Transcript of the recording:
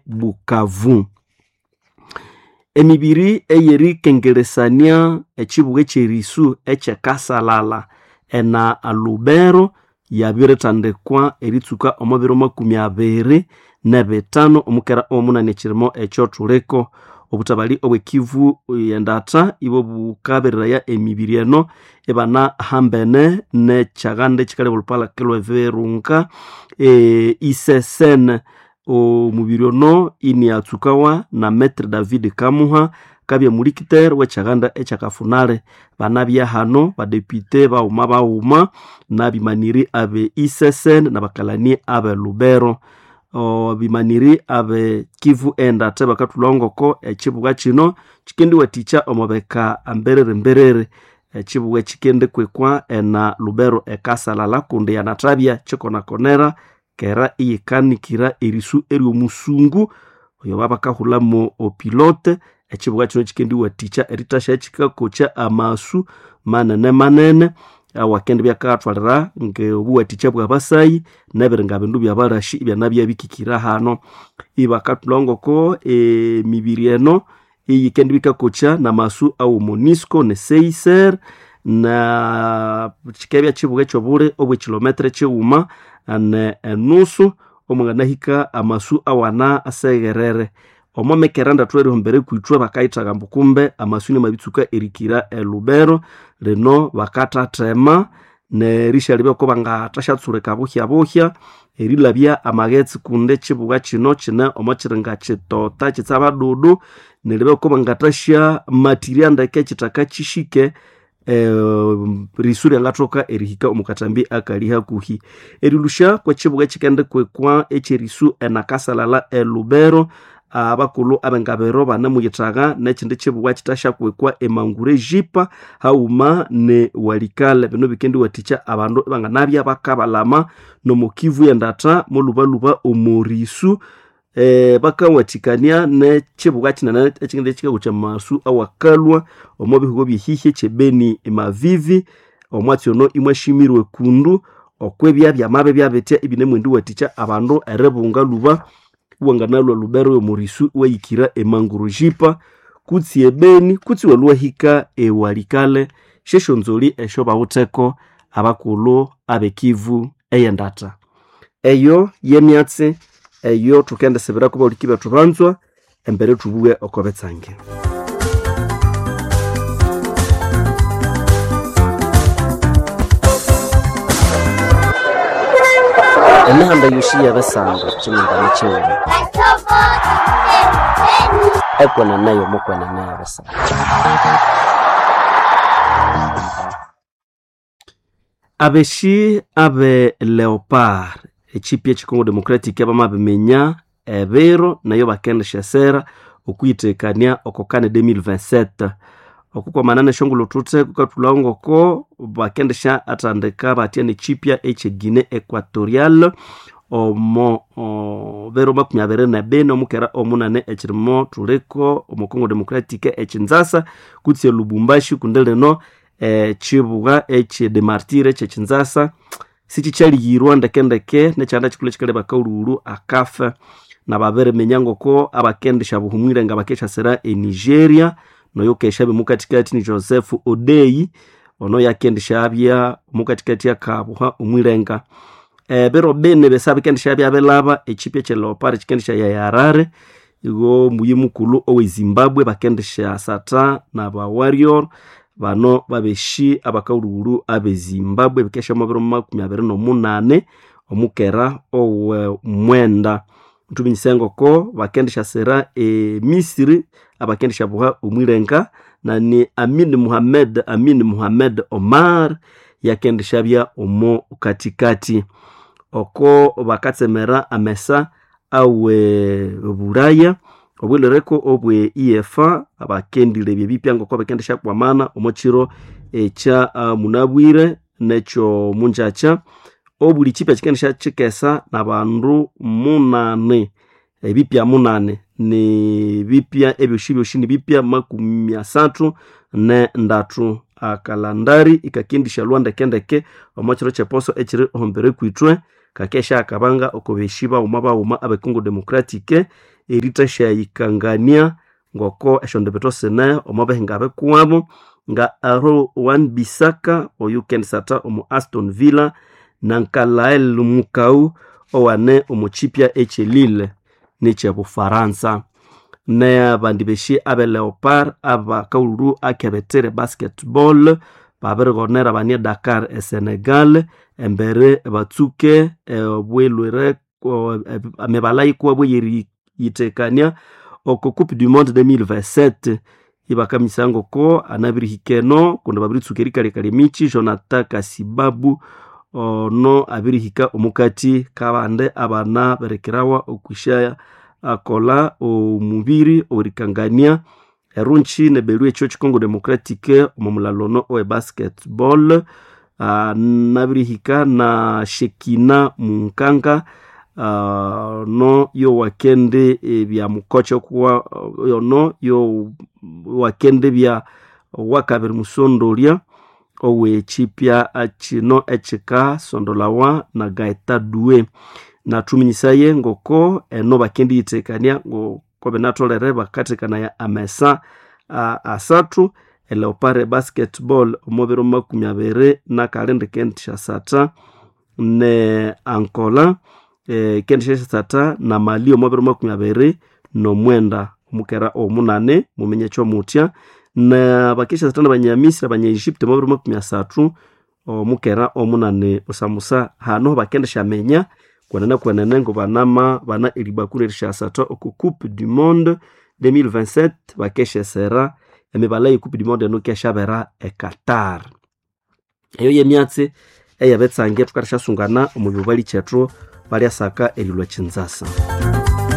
Bukavu. Emibiri eyerikengeresania ekibuga ekyerisu ekyekasalala ena Lubero yabiritandikwa eritsuka omo biro 25 omukera omunani ekirimo ekyo thuliko. Obutabali obwekivu endata ibo bukabereraya emibiri eno ebana hambene nekyaganda ekikaleba olupalake lw'ebirunga isesene. Omubiri ono iniatsukawa na Maitre David Kamuha kabya mulikiteri w'ekyaganda ekyakafunale. Banabya hano badepute baghuma baghuma n'abimaniri abe isesene n'abakalani abe Lubero. Bimaniri abe Kivu endata bakathulha ngoko ekibuga kino kikendiwathikya omo bika mberere mberere. Ekibuga ekikendikwikwa ena Lubero ekasalala kundi yanathabya kikonakonera kera iyikanikira erisu ery'omusungu oyo babakahulhamu opilote. Ekibuga kino kikendiwathikya erithasya kikakokya amasu manene manene awakendibya akathwalira ng'obuwathikya bw'abasayi n'ebiringa bindu by'abalashi ibyanabya bikikira hano. Ibakathulha ngoko emibiri eno iyikendibya ikakokya n'amasu awo MONUSCO ne CICR na kikabya kibuga eky'obuli obw'ekilometre kighuma ne enusu omwanganahika amasu awana asegherere. Omo mekera ndathu erihombere kwithwe bakayithaga ambu kumbe amasu inamabitsuka erikira e Lubero lino bakathathema n'erishalebya oko bangathashatsulika buhya buhya erilabya amaghetse kundi ekibuga kino kine omo kiringa kitota kitsabadudu neribya oko bangathasya matirya ndeke ekithaka kishike risu ryangathoka erihika omu kathambi akali hakuhi. Erilusha kw'ekibuga ekikendikwikwa eky'erisu enakasalala e Lubero abakulhu ab'engabiro banemuyithaga n'ekindi kibuga kithasyakwikwa emangure jipa haghuma ne Walikale. Bino bikendiwathikya abandu ibanganabya bakabalama n'omo Kivu y'endatha mulhubalhuba omo risu bakawathikania n'ekibuga kinene ekindi ekikakokya amasu awakalhwa omo bihugo by'ehihi eky'ebeni Mavivi. Omwatsi ono imwashimirwe kundu okw'ebya byamabya byabitya ibinemwendiwathikya abandu eribunga lhuba iwanganalhwa Lubero y'omo risu iwahikira emanguru jipa kutsi ebeni kutsi iwalhwahika ewalikale. Syesyonzoli esyo bawitheko abakulhu ab'ekivu ey'endatha. Eyo y'emyatsi eyo thukendisibirako bahuliki bethu banzwa embere thubughe oko bitsange. Emihanda yosi y'ebisando kyiningana kighuma ekwenene y'omukwenene y'ebisando. Abeshi abe Leopard ekipi ekikongo Democratic bamabiminya ebiro nayo bakendisya esera okwiyithekania oko kane 2027. Okukwamana n'esyongulho thuthe kukathulhawo ngoko bakendisya athandika batya n'ekipya ekye Guinea Equatorial omo biro 24 omukera omunane ekirimo thuliko omo Congo Democratic ekinzasa kutse e Lubumbashi kundi lino ekibuga ekye de Martyrs ekyekinzasa sikikyaliyirwa ndekendeke nekyanda kikulhu ekikaleba kaghulhughulhu akafa. Nababiriminya ngoko abakendisya buhumwire nga bakesyasira e Nigeria noyo kesyabya omukathikathi ni Joseph Odei ono yakendisyabya omukathikathi akabuha omwirenga. Ebiro bini bisa bikendisyabya bilaba ekipya ekye Leopard kikendisya ya Harare igo muyi mukulhu owe Zimbabwe bakendisya sata n'aba Warrior bano babeshi abakaghulhughulhu abe Zimbabwe bikesya omo biro 28 omukera owe mwenda. Thuminyise ngoko bakendisyasira e Misiri abakendisyabuha omwirenga na ni Amin Muhammad Amin Muhammad Omar yakendisyabya omo kathikathi. Oko bakatsemera amesa awe Bulaya obwilhereko obwe UEFA abakendilebya ebipya ngoko bakendisyakwamana omo kiro ekya munabwire n'ekyo mungyakya. Obuli kipya kikendisya kikesa n'abandu munane ebipya munane ni bipya ebyosi byosi nibipya 33 Akalandari ikakendisya lhwa ndekendeke omo kiro ky'eposo ekiri ohombere kwithwe kakesya akabanga oko beshi baghuma baghuma abe Congo Democratic Eritasyayikangania ngoko esyondibitho sine omo bihinga bikuwabo nga Aaron Wan-Bissaka oyukendisatha omu Aston Villa na Nkalael Mukau owane omu kipya ekye Lille nekyebufaransa. N'abandi beshi abe Leopard abakaghulhu akebetire basketball babirighonera bane Dakar e Senegal embere batsuke obwilwire emibala yikuwabo eyeriyitekania oko Coupe du Monde 2027 ibakaminyisaya ngoko anabirihika eno kundi babiritsuka erikalikalya emikyi. Jonathan Kasibabu ono abirihika omukati kabandi abana birikirawa okwisya akola omubiri owerikangania erungi nebelwa ekyo Congo Democratic omo mulalo ono owe basketball. Nabirihika na Shekina Munkanga ono yowakendi ebya mukocha okuwa ono yowakendi bya wakabiri musondolya owekipya kino ekikasondolawa na Gaeta Due. Nathuminyisaye ngoko eno bakendiyitekania ngoko binatholere bakathekanaya amesa asathu eleopard basketball omo biro 22 kendisyasatha ne Angola kendisyasatha na Mali omo biro 29 omukera omunane muminye ekyomuthya na bakisyasatha na Banyamisiri Abanya Egypt omo biro 30 omukera omunane busamusa. Hano bakendisyaminya kwenene kwenene ngo banama bana eribakura erisyasatha oko Coupe du Monde 2027 bakesyesera emibala ye Coupe du Monde eno kesyabera e Qatar. Eyo yemyatsi eyabetsange thukasyasungana omu bibali kyethu balyasaka erilwa kyinzasa.